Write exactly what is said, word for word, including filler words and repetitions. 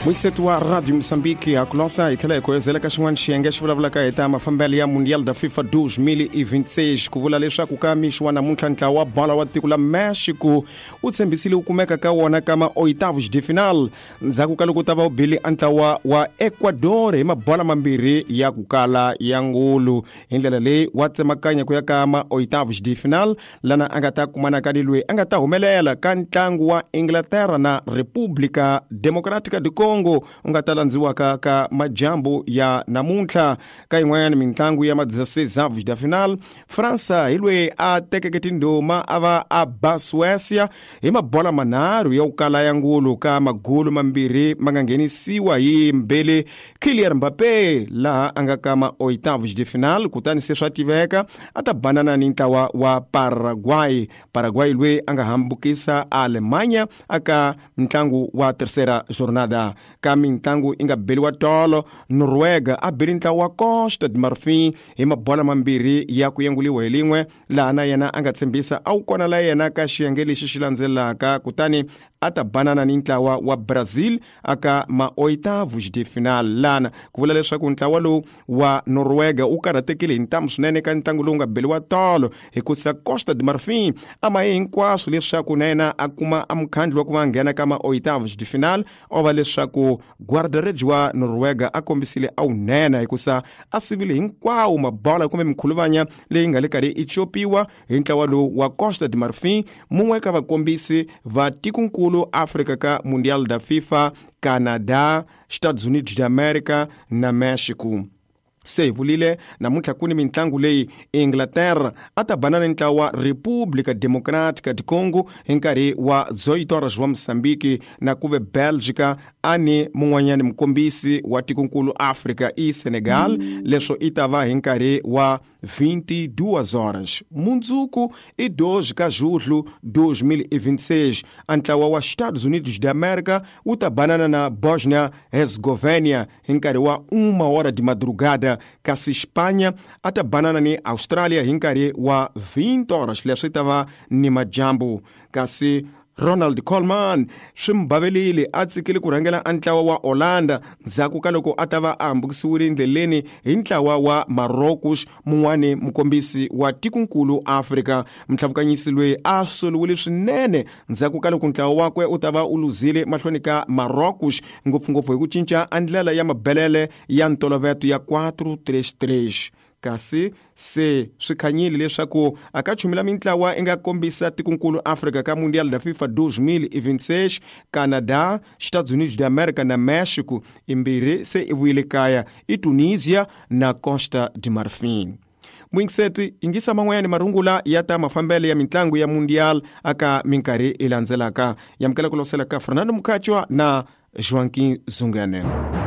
Muyingiseti wa Radio Moçambique ha kulosa hi tlhela hi koyezela ka xin'wana xiyenge xi vulavulaka hi ta mafambelo ya Mundial da FIFA dois mil e vinte e seis ku vula leswaku ka mixo wa namuntlha ntlawa wa bola wa tiko la Mexico wu tshembisile wu kumeka ka wona ka ma oitavos de final ndzhaku ka loko ta va wu bile a ntlawa wa Ecuador hi mabola mambirhi ya ku kala ya ngulu hi ndlela leyi wa tsemakanya ku ya ka ma oitavos de final lana a nga ta kumanaka ni loyi a nga ta humelela ka ntlangu wa Inglaterra na República Democrática do Congo u nga ta landziwaka ka majambu ya namuntlha ka yin'wanyana mintlangu ya ma dezesseis avos da final Fransa hi loyi a tekeke tindhuma a va a ba Suécia hi mabola manharhu ya ku kala ya ngulu ka magulu mambirhi ma nga nghenisiwa hi Mbele Kylian Mbappé laha a nga ka ma oitavos de final kutani se swa tiveka a ta banana ni ntlawa wa Paraguay Paraguay loyi a nga hambukisa Alemanha aka ntlangu wa terceira jornada ka mintlangu yi nga beliwa tolo Noruega a beli ntlawa wa Costa de Marfim hi mabola mambirhi ya ku yenguliwa hi lin'we laha na yena a nga tshembisa a wu kona la yena ka xiyenge lexi xi landzelaka kutani a ta banana ni ntlawa wa Brazil aka ma oitavos de final lana ku vula leswaku ntlawa lowu wa Noruega wu karhatekile hi ntamu swinene ka ntlangu lowu nga beliwa tolo hikusa Costa de Marfim a ma ye hinkwaswo leswaku na yena a kuma a mukhandlu wa ku va nghena ka ma oitavos de final o va leswaku guarda-redes wa Noruega a kombisile a wu nena hikusa a sivile hinkwawo mabola kumbe mikhuluvanya leyi nga le karhi i copiwa hi ntlawa lowu wa Costa de Marfim mun'we ka vakombisi va tikonkulu Afrika ka Mundial da FIFA Canada Estados Unidos da América na Mexico se hi vulile namuntlha ku ni mintlangu leyi Inglaterra a ta banana ni ntlawa wa República Democrática do Congo hi nkarhi wa dezoito horas wa Moçambique na ku ve Belgica a ni mun'wanyani mukombisi wa tikonkulu Afrika i Senegal leswo i ta va hi nkarhi wa vinte e duas horas mundzuku i doze ka julho dois mil e vinte e seis a ntlawa wa Estados Unidos da América wu ta banana na Bosnia Herzegovina hi nkarhi wa uma hora de madrugada kasi Espanha a ta banana ni Australia hi nkarhi wa vinte horas leswi ta va ni majambu kasi Ronald Koeman swi mbavelile a tsikile ku rhangela a ntlawa wa Holanda ndzhaku ka loko a ta va a hambukisiwile endleleni hi ntlawa wa Marocos mun'wani mukombisi wa tikonkulu Afrika mtlhavukanyisi loyi a soliwile swinene ndzhaku ka loko ntlawa wakwe u ta va u luzile mahlweni ka Marocos ngopfungopfu hi ku cinca a ndlela ya mabelele ya ntoloveto ya quatro três três kasi se swi khanyile leswaku a ka chumela mintlawa i nga kombisa tikonkulu Afrika ka Mundial da FIFA dois mil e vinte e seis Canada Estados Unidos da América na Mexico imbirhi se i vuyile kaya i Tunisia na Costa de Marfim muyingiseti yingisa man'wanyani marungula ya ta mafambelo ya mintlangu ya Mundial aka minkarhi i landzelaka yamukela ku losela ka Fernando Mukachwa na Joaquim Zungane.